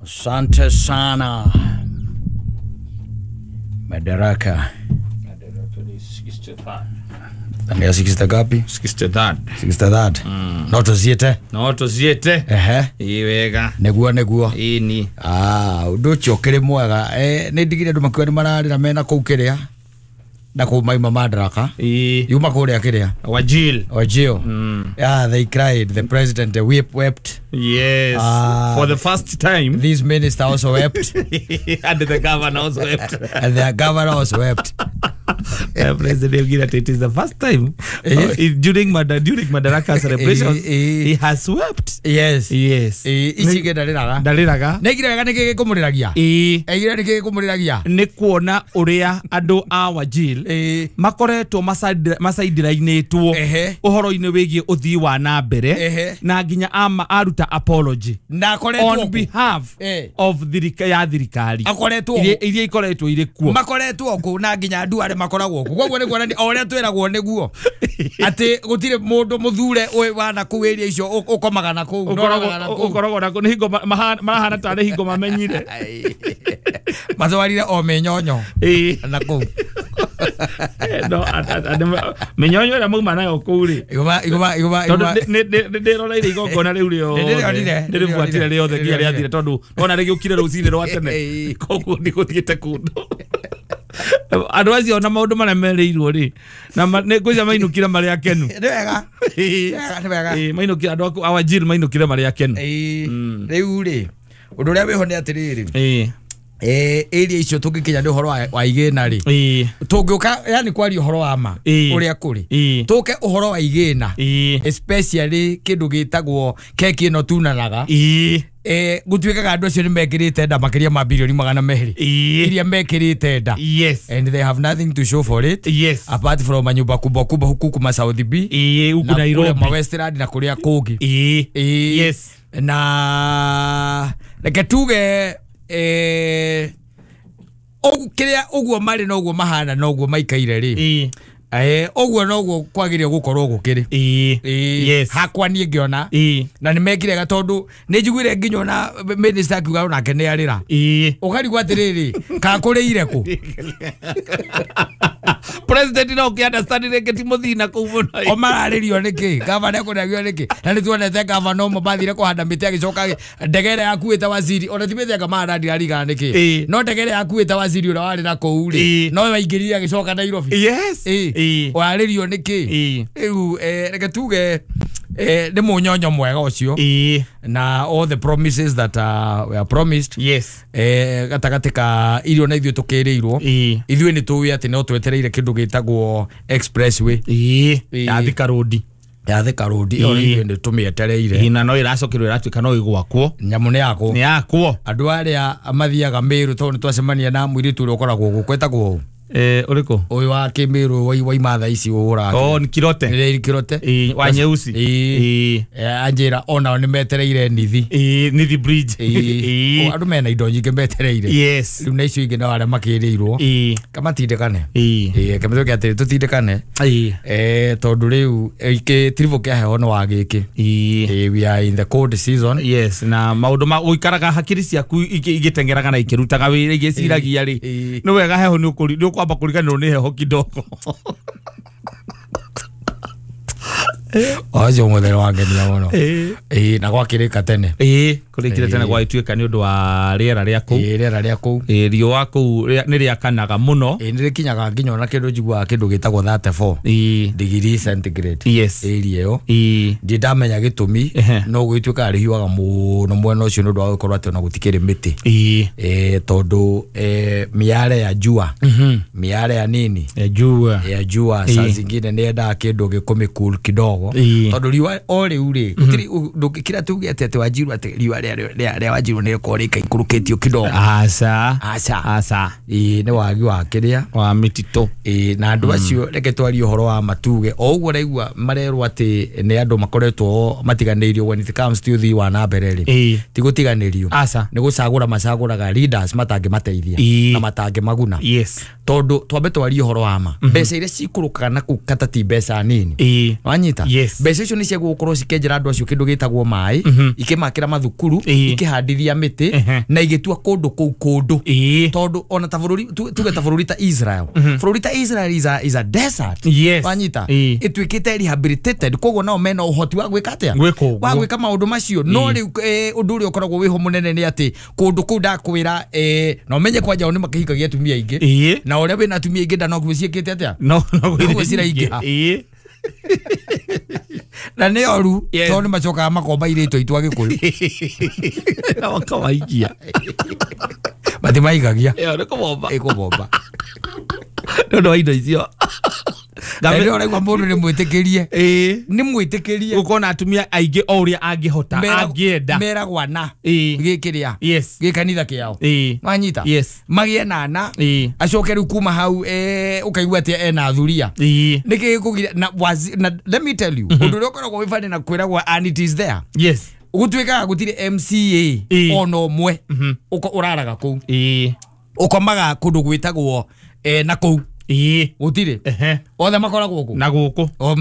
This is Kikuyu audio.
Asante sana. Madaraka. Ni 63 gapi? 63. 63. No tuziete. No tuziete. Ehe. Ii wega. Neguo neguo. Ii ni. Ah, undu ucio kiri mwega. Ni ndigire andu makiuga ni mararira mena kuu kiria. Na kuu maima Madaraka. Ii. Yuma kuria kiria. Wajil. Wajil. Yeah, they cried. The president wept. Yes. For the first time. This minister also wept. And the governor also wept. And the governor also wept. President Ogina, it is the first time during Madaraka celebrations he has wept. Yes. Yes. Ici ndariraga. Ndariraga. Negiraga niki gikumuriragia. Egira niki gikumuriragia. Ni kuona uria andu a Wajir makoretwo macaindirainitwo uhoro-ini wigie uthii wa na mbere na nginya aruta apology na akoretwo on behalf of ya thirikari akoretwo iria ikoretwo iri kuo makoretwo ku na nginya andu aria makoragwo ku koguo ni kuonania o uria twiragwo niguo ati gutire mundu muthure wana ku area icio ukomaga na ku ukoragwo na ku ni hingo marahana tari hingo mamenyire matwarire o minyonyo na ku no minyonyo ira mauma nayo kuu ri igoma igoma igoma tondu ndiroreire igongona riu riothe ndiribuatire riothe nginya riathire tondu ona rigiukire rucini rwa tene koguo ndiguthiite kundu andu acio na maundu maria mereirwo ri na ngwicia mainukire mari akenu ni wega ni wega mainukire andu a Wajir mainukire mari akenu riu ri undu uria wiho ni atiriri area icio tungikinya ni uhoro wa igina ri tungiuka yani kwaria uhoro wa ma uria kuri tuke uhoro wa igina especially kindu gitagwo keki ino tunanaga gutuikaga andu acio ni mekirite nda makiria ma bilioni 200 iria mekirite nda. Yes. And they have nothing to show for it. Yes. Apart from manyumba kubwa kubwa huku kuma South B huku Nairobi ma Westland na kuria kungi. Yes. Na reke tuge kiria uguo mari no uguo mahana no uguo maikaire ri uguo no uguo kwagire gukorwo gukiri. Yes. Hakwa nie ngiona na nimekire tondu ni njiguire nginya ona minister akiuga onake ni arira ukarigwo atiriri ka kuriire ku President no ki understand reke ti muthina kuu muno o mararirio niki gavana ekunagio niki na nituonete gavana umo mathire kuhanda miti agicoka ndege ĩrĩa yakuĩte waziri ona ti mĩthemba mahanda ndirarigana niki no ndege ĩrĩa yakuĩte waziri ũrĩa warĩ na kũu rĩ no waingĩrire agĩcoka Nairobi. Yes. Warĩrio niki rĩu reke tuge nĩ mũnyonyo mwega ũcio na all the promises that were promised. Yes. Gatagati ka irio na ithuĩ tũkĩrĩirwo ithuĩ nĩ tũĩ atĩ no twetereire kĩndũ gĩtagwo expressway ya Thika Road. Ya Thika Road ĩyo ithuĩ nĩ tũmĩetereire na no ĩracokirwo ĩratuĩka no ĩgwakwo nyamũ nĩ yakwo nĩ yakwo andũ arĩa mathiaga Meru tondũ nĩtwacemania na mũirĩtu ũrĩa ũkoragwo gũkũ etagwo uriko uyu wa Kimiru wa imatha ici uhuraga oh ni Kirote ni Kirote wa nyeusi anjira ona ni metereire nithi nithi bridge andu mena indo nyingi metereire. Yes. Riu na icio ingi no aria makiriirwo kamatindikane kamatuke atiri tutindikane tondu riu gitiribu kia heho no wa giki we are in the cold season. Yes. Na maundu ma uikaraga hakiri ciaku igitengeraga na ikirutaga wira igiciragia ri ni wega heho ni ukuri kwamba kuriganirwo ni heho kidogo. Acio muthero wangenia muno na gwakirika tene kurikire tene gwagituika ni undu wa riera ria kuu riera ria kuu riũa kuu ni riakanaga muno ni rikinyaga nginya ona kindu njiguaga kindu gitagwo 34 degree centigrade. Yes. Area iyo ndi ndamenya gitumi no gwituika rihiuaga muno mwena ucio ni undu wa gukorwo ati ona gutikiri miti tondu miare ya jua miare ya nini ya jua ya jua saa zingine ni endaga kindu gikumi cool kidogo tondu riũa o riu ri gutiri ndungikira tuge ati Wajiru ati riũa ria Wajiru ni rikorwo rĩikaikũrũkĩtio kidogo. Aca aca aca nĩ wagi wa kĩrĩa wa mĩtitũ na andũ acio reke twarie ũhoro wa matuge o ũguo raigua marerwo atĩ nĩ andũ makoretwo matiganĩirio when it comes to ũthii wa na mbere rĩ ti gũtiganĩrio nĩ gũcagũra macagũraga leaders matangĩmateithia na matangĩmaguna. Yes. Tondu twambe twarie ũhoro wa ma mbeca iria cikũrũkaga na kũu kata ti mbeca nini wanyita. Mbeca icio nĩ cia gũkorwo cikĩenjera andũ acio kĩndũ gĩtagwo maĩ, ikĩmakĩra mathukuru, ikĩhandithia mĩtĩ na igĩtua kũndũ kũu kũndũ, tondũ ona ta bũrũri tuge ta bũrũri ta Israel, bũrũri ta Israel is a desert. Wanyita? Ĩtuĩkĩte rehabilitated, koguo nao mena ũhoti wa gwĩka atĩa? Gwĩka ũguo. Wa gwĩka maũndũ macio. No rĩu ũndũ ũrĩa ũkoragwo wĩho mũnene nĩ atĩ kũndũ kũu ndakwĩra, na ũmenye kwanja o nĩ makĩhikagia atumia aingĩ, na ũrĩa wĩna atumia aingĩ ndanoguo ciĩkĩte atĩa? No no. Noguo ciraingĩha. Na nĩ oru, tondũ nĩ macokaga makomba irĩtũ aitũ Agĩkũyũ. Na makawaikia. Matimaigagia. Ĩyo nĩ kũmomba. Ĩkũmomba. Nĩ ũndũ wa indo icio. Na rĩrĩa ũraigua mũndũ nĩ mwĩtĩkĩrie, nĩ mwĩtĩkĩrie gũkorwo na atumia aingĩ o ũrĩa angĩhota, angĩenda. Meragwo ana gĩkĩrĩa gĩkanitha kĩao. Wanyita? Yes. Magĩe na ana, acoke rĩu kuma hau ũkaigua atĩ ena thuria. Nĩkĩ gĩkũgiria na na let me tell you, ũndũ ũrĩa ũkoragwo wĩ funny na kwĩragwo, and it is there, gũtuĩkaga gũtirĩ MCA ona ũmwe ũraraga kũu, ũkomaga kũndũ gwĩtagwo na kũu gũtirĩ, othe makoragwo kũ Na gũkũ. O.